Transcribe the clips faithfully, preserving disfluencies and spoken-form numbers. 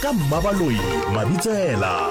ka Mmabaloi Mabitsela.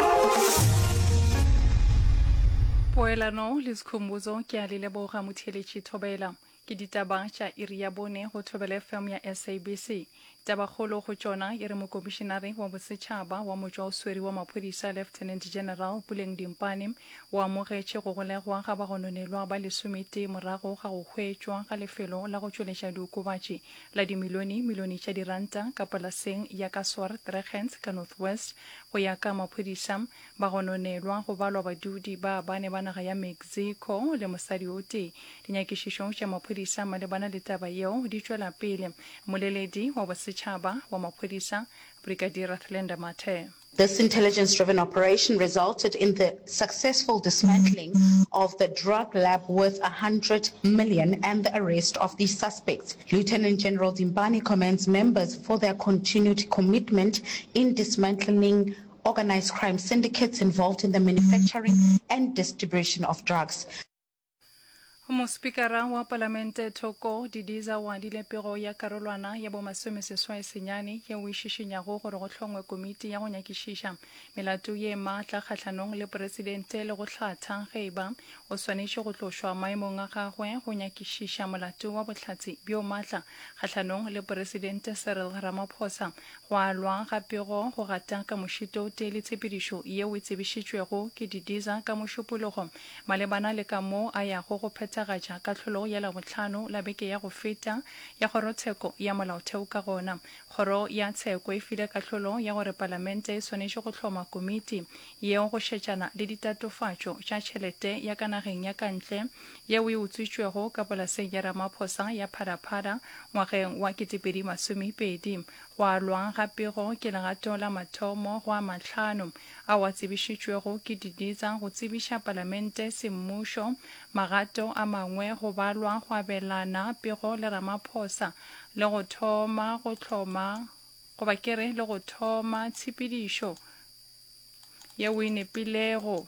Poelano le Skhumbuzo ke a le leboga motheeletši Thobela. Ke ditaba tša iri ya bone go Thobela F M ya S A B C. Tabakgolo go tšona e re Mokomišenare wa Bosetšhaba wa Motšwaoswere wa Maphodisa Lieutenant General Puleng Dimpane o amogetše go golegwa ga bagononelwa ba lesometee morago ga go hwetšwa ga lefelo la go tšweletša diokobatši la dimilione milione tša diranta ka polaseng ya ka Swartruggens ka North West. Go ya ka maphodisa, bagononelwa go balwa badudi ba bane ba naga ya Mexico le mosadi o tee. Dinyakišišo tša maphodisa malebana le taba yeo di tšwela pele. Mmoleledi wa Bosetšhaba wa maphodisa Brigadier Athlenda Mathe. This intelligence-driven operation resulted in the successful dismantling of the drug lab worth a hundred million and the arrest of the suspects. Lieutenant General Dimpane commends members for their continued commitment in dismantling organized crime syndicates involved in the manufacturing and distribution of drugs. Mospikara wa Palamente Thoko Didiza o adile pego ya karolwana ya bomasomeseswai senyane yeo e šišinyago gore go hlongwe komiti ya go nyakišiša melato ye maatla kgahlanong le Poresidente le go hlatha ge e ba o swanetše go tlošwa maemong a gagwe go nyakišiša molato wa bohlatse bjo maatla kgahlanong le Poresidente Cyril Ramaphosa. Go alwa ga pego go gata ka mošito o tee le tshepedišo yeo e tsebišitšwego ke Didiza ka Mošupologo malebana le ka moo a yago go phethagatša kahlolo ya Labohlano la beke ya go feta ya Kgorotsheko ya Molaotheo ka gona. Kgoro ya Tsheko e file kahlolo ya gore Palamente e swanetše go hloma komiti yeo go šetšana le ditatofatšo tša tšhelete ya ka nageng ya ka ntle yeo e utswitšwego ka polaseng ya Ramaphosa ya Phala Phala ngwageng wa ketepedi masomepedi. Go alwa ga pego ke legato la mathomo go a mahlano ao a tsebišitšwego ke Didiza go tsebiša Palamente semmušo. Magato a mangwe go balwa go abelana pego le Ramaphosa le go thoma go hloma goba ke re le go thoma tshepedišo yeo e nepilego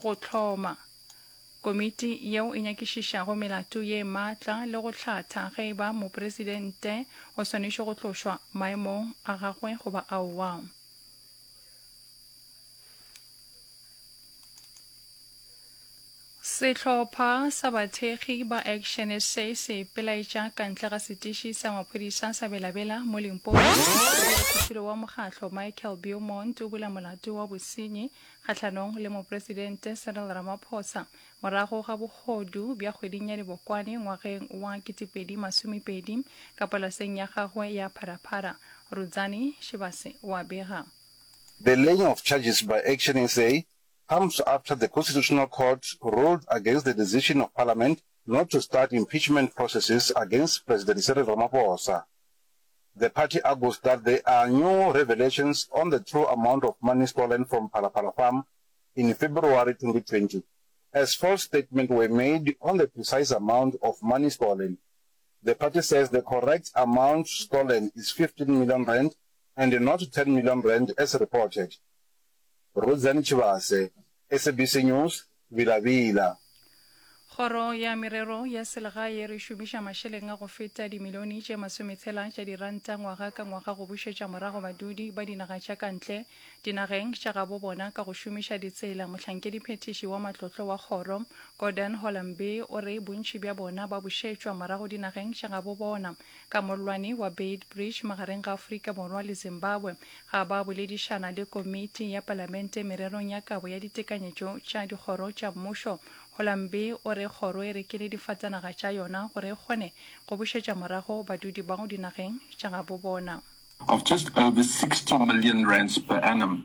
go hloma komiti yeo e nyakišišago melato ye maatla le go hlatha ge e ba mopresidente o swanetše go tlošwa maemong a gagwe goba aowa. Sehlopha sa bathekgi ba Action S A se ipelaetša ka ntle ga setiši sa maphodisa sa Bela-Bela mo Limpopo. Modulasetulo wa mokgatlo Michael Beaumont o bula molato wa bosenyi kgahlanong le Mopresidente Cyril Ramaphosa morago ga bohodu bja kgweding ya Dibokwane ngwageng wa ketepedi masomepedi ka polaseng ya gagwe ya Phala Phala. Rudzani Shibase wa bega. The laying of charges by Action S A comes after the Constitutional Court ruled against the decision of Parliament not to start impeachment processes against President Cyril Ramaphosa. The party argues that there are new revelations on the true amount of money stolen from Phala Phala Farm in February twenty twenty, as false statements were made on the precise amount of money stolen. The party says the correct amount stolen is fifteen million rand and not ten million rand as reported. Rudzani Tshivhase, S A B C News, Vila-Vila. Kgoro ya Merero ya Selegae e re šomiša mašeleng a go feta dimilione tše masometshela tša diranta ngwaga ka ngwaga go bušetša morago badudi ba dinaga tša ka ntle dinageng tša gabo bona ka go šomiša ditsela. Mohlankediphethiši wa matlotlo wa kgoro, Gordon Holambi, o re bontši bja bona ba bušetšwa morago dinageng tša gabo bona ka mollwane wa Beitbridge magareng ga Afrika Borwa le Zimbabwe. Ga ba boledišana le komiti ya palamente mererong ya kabo ya ditekanyetšo tša dikgoro tša mmušo, Holambi o re kgoro e rekile difatanaga tša yona gore e kgone go bušetša morago badudi bao dinageng tša gabo bona. Of just over sixty million rands per annum.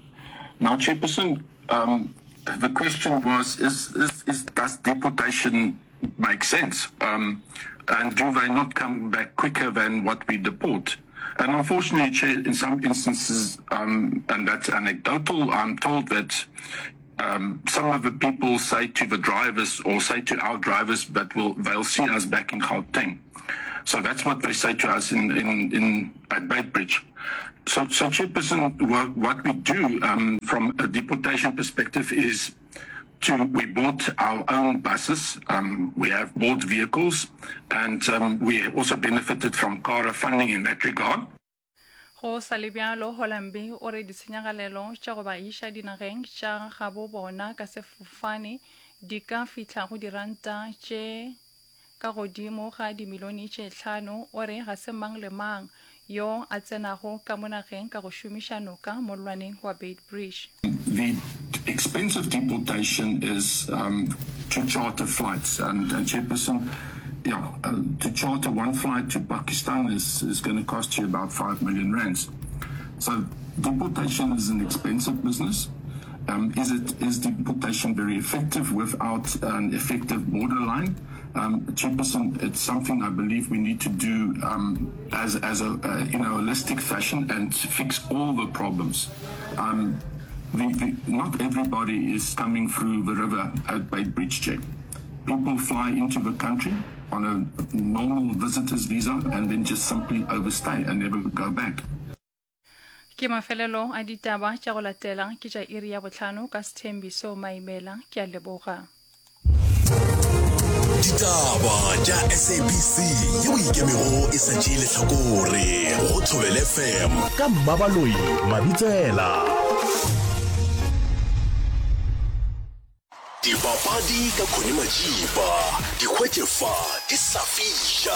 Now, Chairperson, um, the question was, is, is, is, does deportation make sense? Um, and do they not come back quicker than what we deport? And unfortunately, Chair, in some instances, um, and that's anecdotal, I'm told that um, some of the people say to the drivers or say to our drivers that will they'll see us back in Gauteng. So that's what they say to us in, in, in at Beitbridge. So, so Chairperson, what, what we do um, from a deportation perspective is to we bought our own buses, um, we have bought vehicles, and um, we also benefited from CARA funding in that regard. Go sa le bjalo, Holambi o re ditshenyagalelo tša go ba iša dinageng tša gabo bona ka sefofane di ka fihla go diranta tše ka godimo ga dimilione tše hlano. O re ga se mang le mang yo a tsenago ka mo nageng ka go šomiša noka mollwaneng wa Beitbridge. The expense of deportation is um, to charter flights and, and Chairperson, yeah, uh, to charter one flight to Pakistan is, is going to cost you about five million rands. So deportation is an expensive business. Um, is it is deportation very effective without an effective borderline? Um, Chairperson, it's something I believe we need to do um, as, as a, uh, in a holistic fashion and fix all the problems. Um, the, the, not everybody is coming through the river at Beitbridge Check. People fly into the country on a normal visitor's visa and then just simply overstay and never go back. Ke mafelelo a ditaba tša go latela ke tša iri ya bohlano ka Sthembiso Maimela. Ke a leboga. Ditaba tša S A B C yeo ikemego e sa tšee lehlakore go Thobela F M ka Mmabaloi Mabitsela. Dipapadi ka Connie Majiba, di hwetše fa di sa fiša.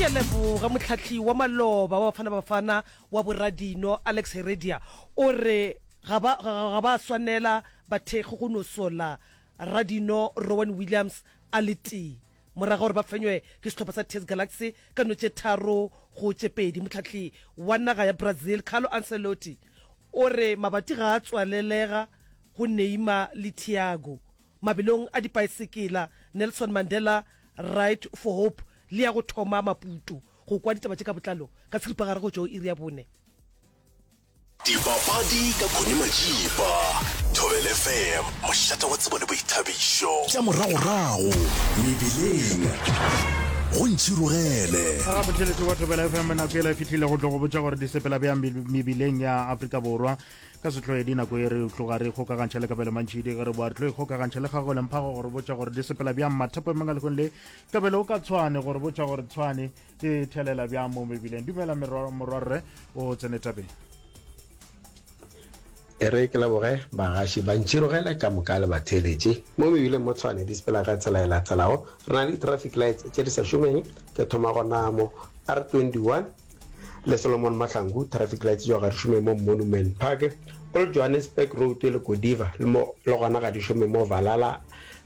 Ke a leboga. Mohlahli wa maloba wa Bafana Bafana wa boradino Alex Heredia o re ga ba ga ba swanela bathekgi go no sola radino Rowan Williams a le tee morago ga gore ba fenywe ke sehlopha sa T S Galaxy ka no tše tharo go tše pedi. Mohlahli wa naga ya Brazil Carlo Ancelotti o re mabati ga a tswalelega go Neymar le Thiago mabelong a dipaesekela Nelson Mandela Ride for Hope le ya go thoma Maputo. Go kwa ditaba tše ka botlalo ka seripagare go tšwa go iri ya bone. Dipapadi ka Connie Majiba, Thobela F M, mošate wa tsebo le boithabišo. Tša moragorago mebileng go ntšhirogele. Ga botheletši wa Thobela F M, nako ela e fihlile go tlo go botša gore di sepela bjang mebileng ya Afrika Borwa ka sehloedi. Nako e re tloga re kgokagantšha le Kabelo Mantšhidi, ge re boa re tlo ikgokagantšha le Gagole Mphago gore botša gore di sepela bjang mathapameng a lekgong le Kabelo o ka Tshwane gore botša gore Tshwane di thelela bjang mo mebileng. Dumela morwarre, o tsene tabeng. E re ke leboge bagaši ba ntšhirogele ka moka le batheeletši. Mo mebileng mo Tshwane di sepela ka tsela e latelago. Re na le di-traffic lights tše di sa šomeng. Ke thoma gona mo R twenty one le Solomon Mahlangu, traffic lights tšeo ga di šome mo Monument Park. Old Johannesburg Road le Godiva le mo le gona ga di šome mo Valhalla.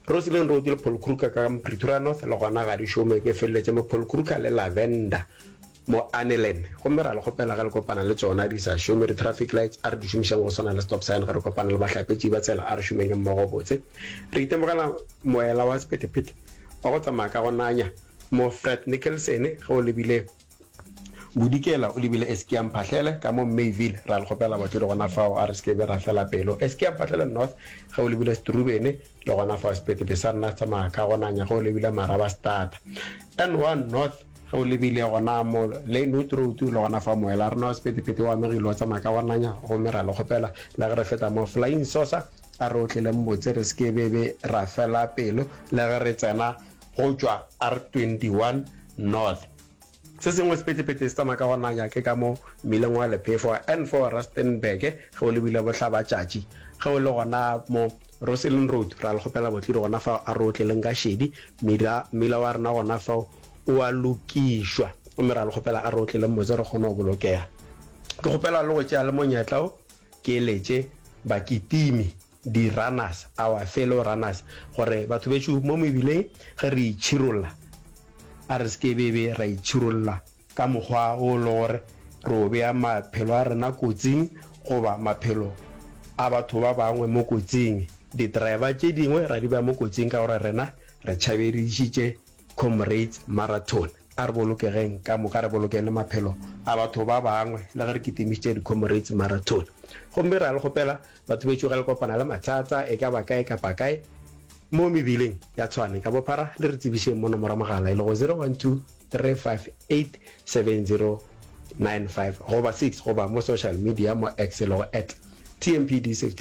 Rosslyn Road le Paul Kruger ka Pretoria North le gona ga di šome. Ke feleletše mo Paul Kruger le Lavender mo Annelen. Gomme ra le kgopela ge le kopana le tšona di sa šome di-traffic lights, a re di šomišeng go swana le stop sign ge re kopana le bahlapetši ba tsela, a re šomeng mmogo botse. Re itemogela moela wa sephethephethe wa go tsamaya ka go nanya mo Fred Nicholson ge o lebile Bodikela o lebile Eskia Mphahlele ka mo Mayville. Ra le kgopela batlodi gona fao, a re se ke be ra fela pelo. Eskia Mphahlele North ge o lebile Strubene le gona fao sephethephethe sa rena se tsamaya ka go nanya ge o lebile Marabastad. N one North ge o lebile gona mo Lynnwood Road le gona fa moela rena wa sephethephethe o amegile o tsamaya ka go nanya, gomme ra le kgopela le ge re feta mo Flying Saucer a re otleleng botse, re se ke be be ra fela pelo le ge re tsena go tšwa R twenty one North. Se sengwe sephethephethe se tsamaya ka go nanya ke ka mo mmileng wa lephefo wa N four Rustenburg ge o lebile bohlabatšatši. Ge o le gona mo Rosslyn Road ra le kgopela botledi gona fao a re otleleng ka šedi, mmila mmila wa rena gona fao o a lokišwa gomme ra le kgopela a re otleleng botse re kgone go bolokega. Ke kgopela le go tšea le monyetla wo ke eletše bakitimi, di-runners, our fellow runners, gore batho bešo mo mebileng ge re itšhirolla a re se ke be be ra itšhirolla ka mokgwa wo le gore re o bea maphelo a rena kotsing goba maphelo a batho ba bangwe mo kotsing. Di-driver tše dingwe ra di bea mo kotsing ka gore rena re tšhabedišitše Comrades Marathon. A re bolokegeng ka moka, re bolokeng le maphelo a batho ba bangwe le ge re kitimišitše di-Comrades Marathon. Gomme ra le kgopela batho bešo ge le kopana le mathata e ka ba kae kapa kae mo mebileng ya Tshwane ka bophara le re tsebišeng mo nomoro ya mogala e lego zero one two three five eight seven zero nine five goba six goba mo social media mo X e lego at T M P D Safety.